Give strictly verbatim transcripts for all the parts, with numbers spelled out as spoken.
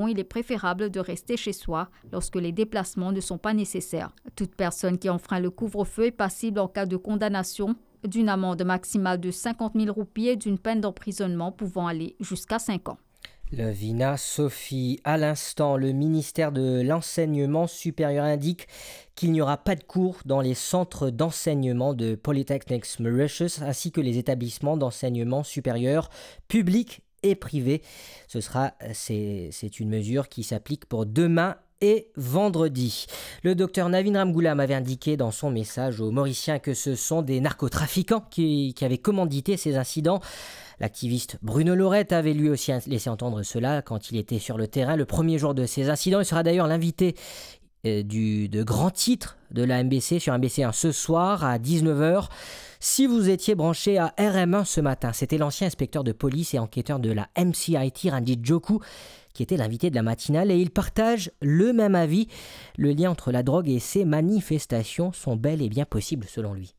il est préférable de rester chez soi lorsque les déplacements ne sont pas nécessaires. Toute personne qui enfreint le couvre-feu est passible en cas de condamnation d'une amende maximale de cinquante mille roupies et d'une peine d'emprisonnement pouvant aller jusqu'à cinq ans. Lovina Sophie. À l'instant, le ministère de l'Enseignement supérieur indique qu'il n'y aura pas de cours dans les centres d'enseignement de Polytechnics Mauritius ainsi que les établissements d'enseignement supérieur publics et privés. Ce sera, c'est, c'est une mesure qui s'applique pour demain et vendredi. Le docteur Navin Ramgoolam avait indiqué dans son message aux Mauriciens que ce sont des narcotrafiquants qui, qui avaient commandité ces incidents. L'activiste Bruno Laurette avait lui aussi laissé entendre cela quand il était sur le terrain le premier jour de ces incidents. Il sera d'ailleurs l'invité, euh, du, de grand titre de la M B C sur M B C un ce soir à dix-neuf heures. Si vous étiez branché à R M un ce matin, c'était l'ancien inspecteur de police et enquêteur de la M C I T, Ranjit Joku, qui était l'invité de la matinale, et il partage le même avis. Le lien entre la drogue et ces manifestations sont bel et bien possibles selon lui.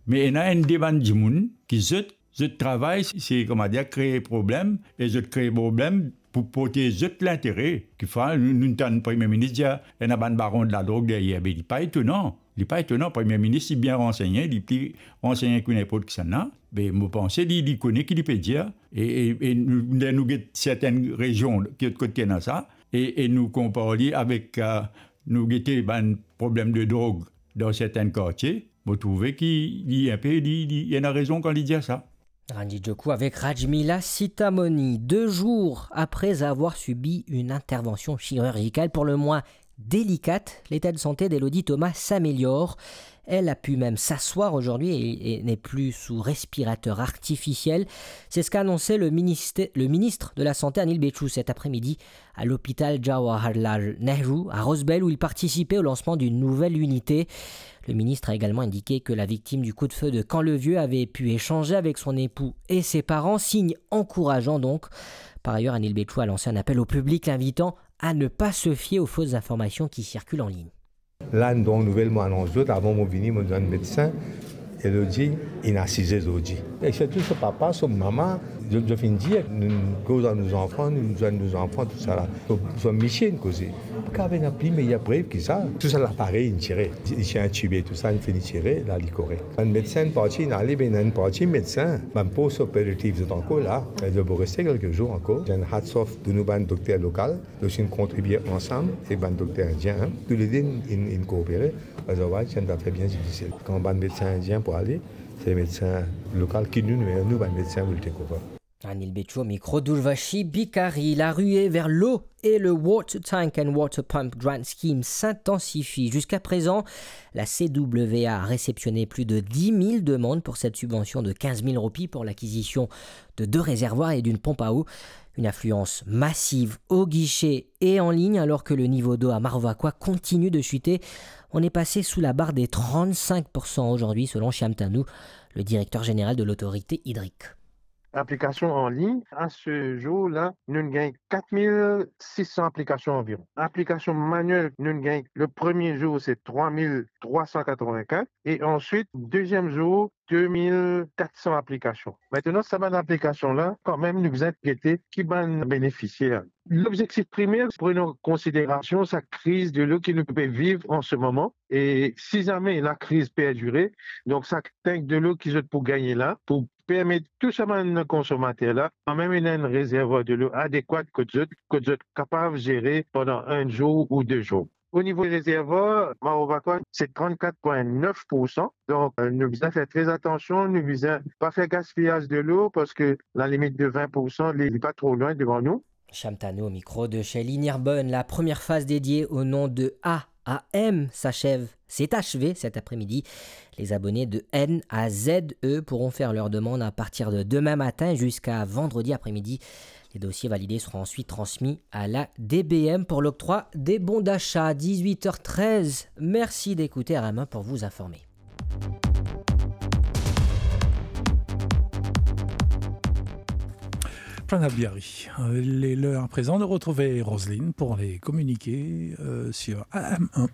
Me ena enn de bann dimoun ki zot, zot travay, se, kouma dir, kree problem, e zot kree problem pou protez zot lintere. Kifer nou, nou tann Premie Minis dir, ena bann baron de ladrog deryer, be li pa etonan. Li pa etonan, Premie Minis, li bien ransegne, li pli ransegne ki ninport kisannla. Be, mo panse li, li kone ki li pe dir. E, e, e nou, ler nou get sertenn rezion ki lot kot ki ena sa, e, e nou konpar li avek, eh, nou gete bann problem de drog dan sertenn kartie, mo trouve ki li inpe, li, li ena rezon kan li dir sa. Ranjit Joku avec Rajmila Sitamoni. Deux jours après avoir subi une intervention chirurgicale pour le moins délicate, l'état de santé d'Elodie Thomas s'améliore. Elle a pu même s'asseoir aujourd'hui et, et n'est plus sous respirateur artificiel. C'est ce qu'a annoncé le ministè-, le ministre de la Santé, Anil Bechoo, cet après-midi à l'hôpital Jawaharlal Nehru à Rosebel, où il participait au lancement d'une nouvelle unité. Le ministre a également indiqué que la victime du coup de feu de Camp-le-Vieux avait pu échanger avec son époux et ses parents, signe encourageant donc. Par ailleurs, Anil Bechoo a lancé un appel au public l'invitant à ne pas se fier aux fausses informations qui circulent en ligne. La, nou donn nouvel, mo anons zot, avan mo vini, mo dir medsin, Elodie inn asize zordi. E sirtou so papa, so mama, zot, zot finn dir, nou koz ar nou zanfan, nou zwenn nou zanfan, tousala. So, so misie inn koze. Kav ena pli meyer prev ki sa. Tou sa laparey inn tire. Li ti intibe, tou sa, inn fini tire, la li korek. Bann medsin parti, inn ale, be ena enn parti medsin, bann post operative, zot ankor la. Zot pou reste kelke zour ankor. Enn hats off pou nou bann dokter lokal. Zot inn kontribie ansam ek bann dokter indien, hein. Toulede inn, inn, inn koopere. Otherwise, se enn zafer bien difisil. Kan bann medsin indien pou ale, se medsin lokal ki nou, nou, nou bann medsin pou take over. Anil Bechoo, micro d'Urvashi Bikari. La ruée vers l'eau et le Water Tank and Water Pump Grant Scheme s'intensifie. Jusqu'à présent, la C W A a réceptionné plus de dix mille demandes pour cette subvention de quinze mille roupies pour l'acquisition de deux réservoirs et d'une pompe à eau. Une affluence massive au guichet et en ligne, alors que le niveau d'eau à Maro Vacoas continue de chuter. On est passé sous la barre des trente-cinq pour cent aujourd'hui, selon Shyam Tanu, le directeur général de l'autorité hydrique. Aplikasion an lign, a se zour la, nou gagn kat mil sis san aplikasion anviron. Aplikasion maniel, nou gagn, le premie zour, se trwa mil trwa san katrovin-kat, e answit, deziem zour, de mil kat san aplikasion. Aster, sa bann aplikasion la, kanmem, nou bizin gete ki bann benefisier. Lobzektif primer, pran an konsiderasion sa kriz delo ki nou pe viv an se moman, e si zame lakriz perdire, donk sa tank delo ki zot pou gagne la, pou permet tou sa bann konsomater la, kanmem ena enn rezervwar delo adekwat kot zot, kot zot kapav zere pandan enn zour ou de zour. O nivo rezervwar, Maro Vacoas, se trannkat pwin nef pou san. Donk, euh, nou bizin fer tre atansion, nou bizin pa fer gaspiyaz delo, parski lalimit de vin pou san, li, li pa tro lwin devan nou. Shyam Tanu au micro de Shelly Nirbonne. La première phase dédiée au nom de A A M s'achève, s'est achevée cet après-midi. Les abonnés de N A Z E pourront faire leur demande à partir de demain matin jusqu'à vendredi après-midi. Les dossiers validés seront ensuite transmis à la D B M pour l'octroi des bons d'achat. Dix-huit heures treize. Merci d'écouter R M un pour vous informer. Pranab Biari. Euh, il est l'heure à présent de retrouver Roselyne pour les communiqués, euh, sur R M un.